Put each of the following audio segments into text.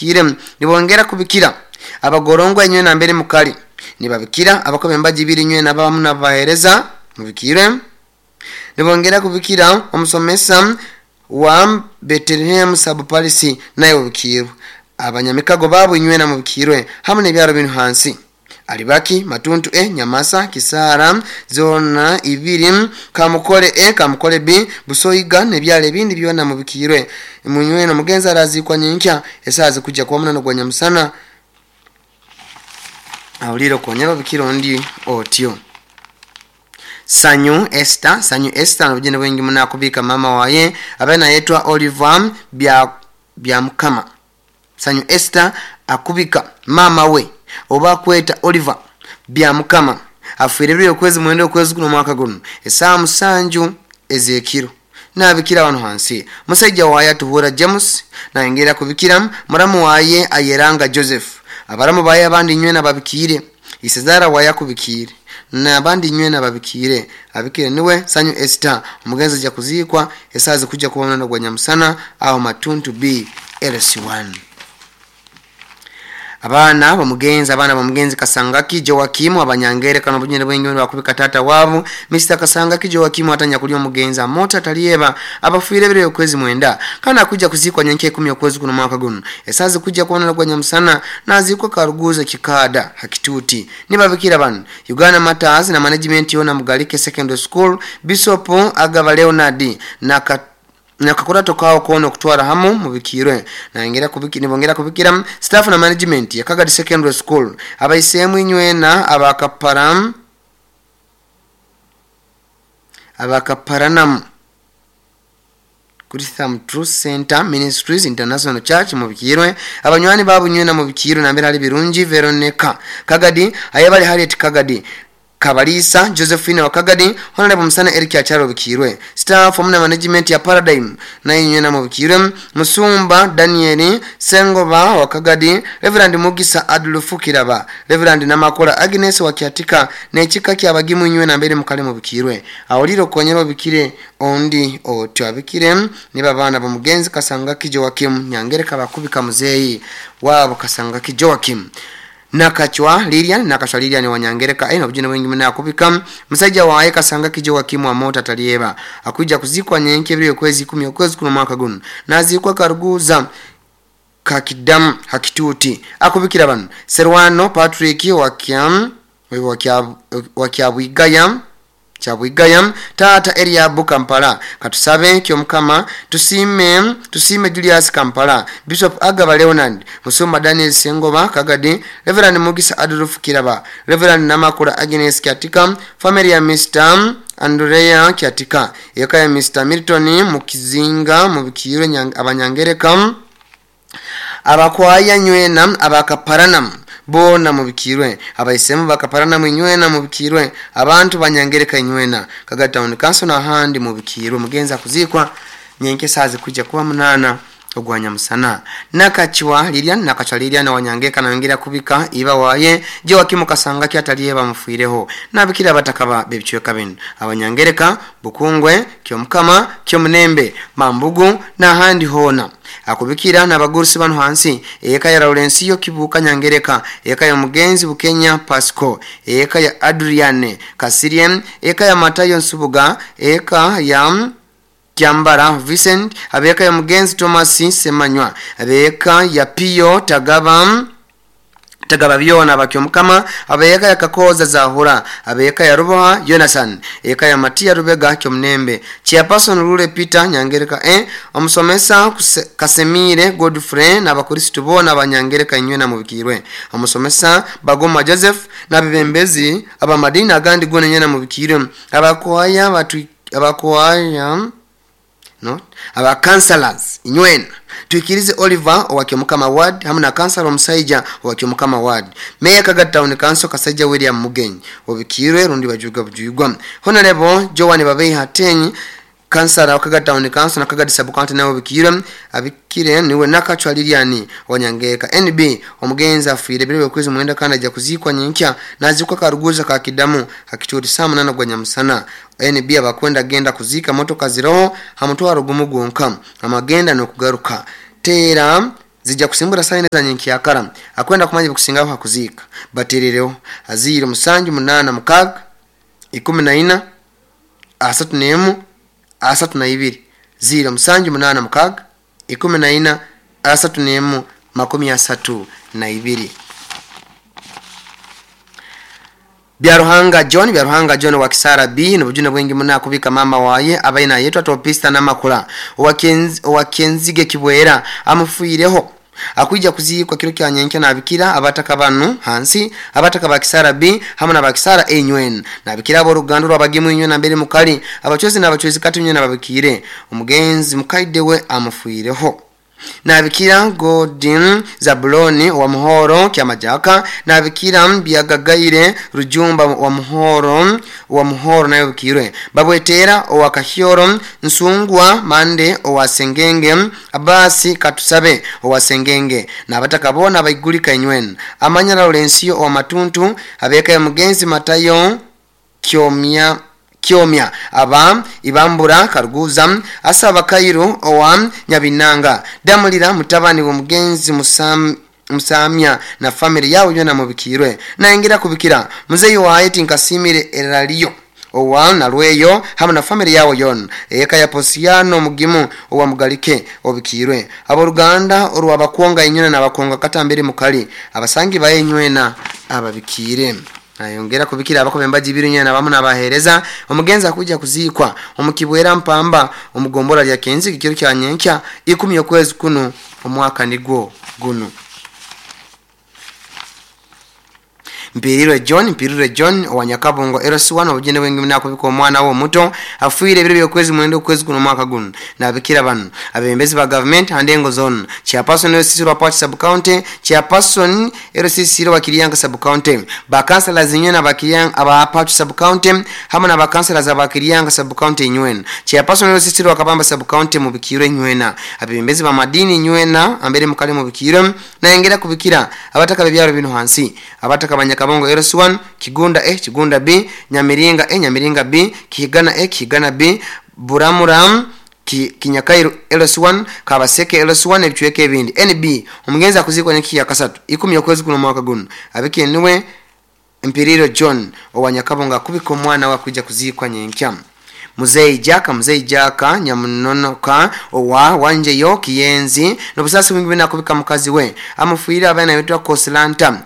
Mubikire nibongera kubikira abagorongwa inywe nambere mukali nibabikira abakobe embaji ibiri inywe nabamu nabahereza mubikire nibongera kubikira omusomesa wa Bethlehem Sub-Palisi naye ubikirwe abanyamikago babu inywe na mubikirwe hamwe n'ebyaro binu hansi Alibaki, Matuntu E, Nyamasa, Kisara, Zona ibiri, Kamukole E, Kamukole B, Busoiga n'ebyalo ebindi byona mubikirwe. Munywena mugenzi arazikwa nyinkya esazi kujja kuba munano gwa nyamusana awulire konyera obikira ondi otyo. Sanyu Esther, Sanyu Esther nobujene bwingi muna kubika mama waye abe nayetwa Oliver bya Mukama. Sanyu Esther akubika mama we oba kweta Oliver bya Mukama afiire okwezi mwenda okwezi kuno mwaka guno esaa 7 ezekiro nabikira wano hansi musajja waye atuhura James nayongera kubikira muramu waye ayeranga Joseph abaramu baye abandi nywe nababikire isezara waye akubikire nabandi nywe nababikire abikire niwe Sanyu Esther omugenzi ajja kuzikwa esazi kujja kuba gwa nyamusana aho Matuntu B LC1. Abana bamugenzi Kasangaki Joakimu abanyangere kano bunyene bwengi bakubika tata wabu Mr Kasangaki Joakimu atanya kulio mugenzi amota talieba abafuire bire okwezi mwenda kana kuja kuzikwa nyanke 10 okwezi kuno mwaka guno esazi kuja kuona gwa nyamusana nazikwa Karuguza Kikada Hakituti nibabikira bano Uganda Matters na management yona Mugalike Secondary School Bishop Agaba Leonard na nakakurato kao kono kutwara hamu mubikirwe na nibongera kubikira staff na management ya Kagadi Secondary School abaisemu inywena abakaparanam Christian Truth Center Ministries International Church mubikirwe abanywani babu nywena mubikirwe na mbere ali Birungi Veronica Kagadi ayabali Harriet Kagadi Kabalisa Josephine wa Kagadi Honorable Musana Eric Acharo bikirwe staff omuna management ya Paradigm na inywe na mubikirwe Musumba Daniel Sengoba wa Kagadi Reverend Mugisa Adolfu Kiraba Reverend Namakola Agnes wa Kiatika n'ekika kyabagimu inywe na mbere mukale mubikirwe awuliro konyero bikire ondi otyo abikire niba bana bamugenzi Kasangaki Joakim Nyangereka bakubika muzeyi wabo Kasangaki Joakim Nakachwa Lilian wanyangereka eno bujina wengi mna kubika musajja waye Kasangaki Joakim wa mota talieba akuja kuzikwa nyenke bire kwezi 10 okwezi kuno mwaka guno nazikwa Karuguza Kakidam Hakituti akubikira bano Serwano Patrick wakyabwigaya Chabwigaya tata Eliabu Kampala katusabe kyomukama tusime Julius Kampala Bishop Agaba Leonard Musumba Daniel Sengoba Kagadi Reverend Mugisa Adolf Kiraba Reverend Namakula Agnes Kiatika family ya Mr Andrea Kiatika eka ya Mr Milton Mukizinga mubikirwe abanyangereka abakwaya nywena abakaparanam bona mubikirwe abaisemu bakaparana mwinywena mubikirwe abantu banyangereka inywena Kagadi Town Council na handi mubikirwe mugenza kuzikwa nyenke sazi kuja kuba 8 ogwanya musana Nakachwa Lilian wanyangeka na ngira kubika iba waye Joakimu Kasangaki atalieba mufuireho nabikira batakaba bebichweka binu abanyangereka Bukungwe Kyomukama Kyomunembe Mambugu na handi hona akubikira n'abagurusi bano hansi eka ya Laurencio Kibuka Nyangereka eka ya Mugenzi Bukenya Pasco eka ya Adriane Kasiriem eka ya Matayo Nsubuga eka ya Kiambara Vincent abeka ya Mugenzi Thomas Semanywa abeka ya Pio Tagaba byona bakyomukama abeka ya Kakoza Zahura abeka ya Ruboha Jonathan eka ya Matia Rubega Kyomnembe Chairperson Rule Peter Nyangereka omusomesa Kasemire Godfrey n'abakristo bona abanyangereka inywe na mubikirwe omusomesa Bagoma Joseph n'abebembezi abamadini agandi gone nyena mubikirwe abakwaya no aba counselors inywena tuikirize Oliver owakyomukama ward hamwe na councilor Omusaija owakyomukama ward Mayor Kagadi Town Council Kasajja William Mugenyi obikirwe rundi bajuga bujugwa Honorable Joan Babei Hatenyi Kansala wa Kagadi Town Council na Kagadi Sub County nawe bikirwe abikire niwe Nakachwa Lilian wanyangeka NB omugenzi afiire bire okwezi mwenda kana ajja kuzikwa nyinkya nazikwa Karuguza ka Kidamu hakituri saa 8 gwa nyamusana NB abakwenda genda kuzika motoka ziroho hamutwaro gumu gwonka amagenda no kugaruka tera Zijja kusimbura saa ina za nyenkyakara. Akwenda kumanya bikusingaho hakuziika baterereho aziire 786 14 31 32 0786 14 31 32. Byaruhanga John wa Kisara B nobujune bwingi muna kubika mama waye abaina yetwa topista namakula owakenzige kibwera amufuireho akuija kuziikwa kiro kya nyenkya nabikira abataka banu hansi abataka ba Kisara B hamwe na ba Kisara A nywen nabikira abo rugando rwabagimu inywe na mbere mukali abachozi n'abachozi kati nywe nababikire omugenzi mukaide we amufuireho. Nabikira Godin Zabuloni wa Muhoro Kyamajaka nabikira Byagagaire Rujumba wa Muhoro nayo bikirwe Babwetera owa Kahyoro Nsungwa Mande owa Sengenge Abasi Katusabe owa Sengenge nabataka bona baigulika inywen Amanya Laurencio owa Matuntu abeka ya mugenzi Matayo Kyomya aba Ibambura Karuguza asaba Kairo owa Nyabinanga Damulira mutabani wa mugenzi Musamya na family yao yona mubikirwe naingira kubikira muzeyi wa Haiti Nkasimire Eraliyo owa Nalweyo hamwe na family yao yon eka ya Posiano Mugimu owa Mugalike obikirwe aboluganda orwabakwonga inyuna nabakonga katambere mukali abasangi baye nywena ababikire. Nayongera kubikira abako bembaji biru nyana bamu nabahereza omugenza kuja kuzikwa omukibwera mpamba omugombora lya Kenzi kikiro kya nyenkya 10 okwezi kuno omwaka nigwo guno. Mpirire John wa Nyakabongo LC1 obujene bwengi munako omwana wo muto afuire ebiro byokwezi mwendo okwezi kuno mwaka guno nabikira bano abembezi ba government handengo zone chairperson LC wa Port sub county chairperson LC wa Kiriyanga sub county ba councillors nyena ba Kiriyanga aba Port sub county hamwe na ba councillors aba Kiriyanga sub county nywena chairperson LC wa Kabamba sub county mubikire nywena abembezi ba madini nywena ambere mukale mubikire naengera kubikira abataka bebyaro bino hansi abataka Nyakabongo LC1 Kigunda A Kigunda B Nyamiringa A Nyamiringa B Kigana A Kigana B Buramuram Kinyakairu LC1 Kabaseke LC1 ebichweke ebindi NB omugenzi akuzikwa nyaki ya kasatu 10 okwezi kuno mwaka guno abike niwe Mpiriro John owa Nyakabongo kubika omwana wa kuja kuzikwa nyenkya. Muzei Jaka Nyamunonoka owa Wanjeyo Kiyenzi nobusasi wingi bina kubika mukazi we amufuira abana yitwa Koslanta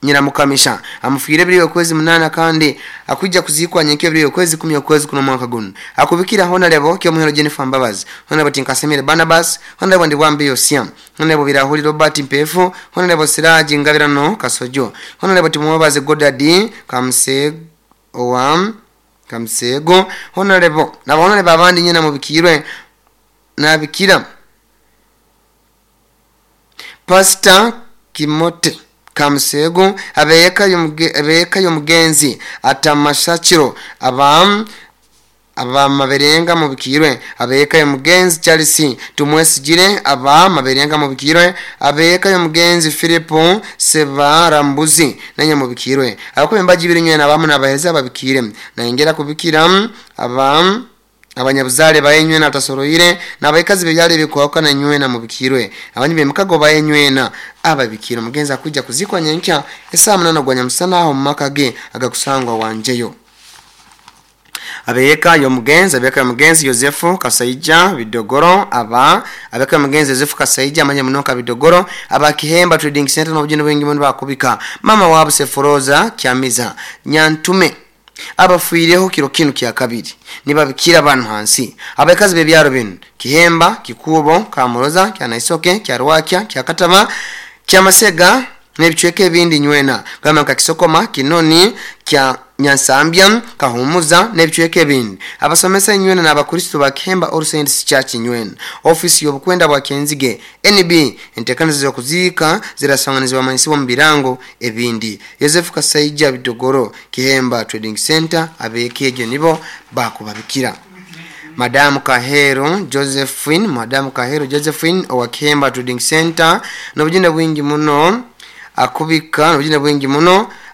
Nyiramukamisha amufuire biri okwezi 8 kandi akuja kuzikwa nyenkyo biri okwezi 10 okwezi kuno mwaka guno akubikira Honorable Kyomuhero Jennifer Mbabazi Honorable Tinkasemire Barnabas Honorable Ndiwambi Yosia Honorable Birahuli Robert Mpefu Honorable Siraji Ngabirano Kasojo Honorable Timubaze Godadi Kamsego owa Kamsego Honorable na honorable abandi nyina mubikirwe nabikira Pastor Kimote Kamsego abeyeka yomugenzi atamashachiro aba maberenga mubikirwe abeyeka yomugenzi Charles Tumwesijire aba maberenga mubikirwe abeyeka yomugenzi Philipo Sebarambuzi nanye mubikirwe abakubembaji biri nywe nabamu nabaheza babikire naingera kubikira aba abanyabuzale bayenywe na tasoroire nabayikazi bebyale bikwaka na nywe na mubikirwe abanyi bemukago bayenywe na ababikira mugenza kuja kuzikwa nyenkya esaa 8 gwanya musana aho mumakage agakusangwa wanjeyo. Abeyeka yomugenzi Yosefu Kasaija Bidogoro abeka yomugenzi Yosefu Kasaija amanye munoka Bidogoro aba Kihemba Trading Center n'obujene bwingi muno bakubika mama wabo Seforoza Kyamiza Nyantume abafuireho kiro kinu kya kabiri nibabikira abantu hansi abakazi bebyaro bino Kihemba Kikubo Kamuroza Kyanaisoke Kyarwakya Kyakatama Kyamasega nebichweke ebindi nywena gamba nka Kisokoma Kinoni kya Nyansambya Kahumuza nebichweke ebindi abasomesa nywena n'abakristo ba Kihemba All Saints Church nywena office y'obukwenda bwa Kenzige NB entekanizo z'okuzika zirasanganizwa manisiwa mu birango ebindi Yosefu Kasaija Bidogoro Kihemba Trading Center abekeje nibo bakubabikira. Madamu Kahero Josephine owa Kihemba Trading Center n'obujune bwingi muno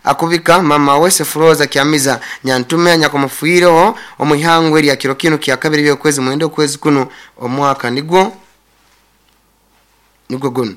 akubika mama we Sefroza Kyamiza Nyantume nyakomufuireho omuhangwe lya kiro kinu kya kabiri byokwezi mwendo kwezi kuno omwaka nigwo Nugwo gunu.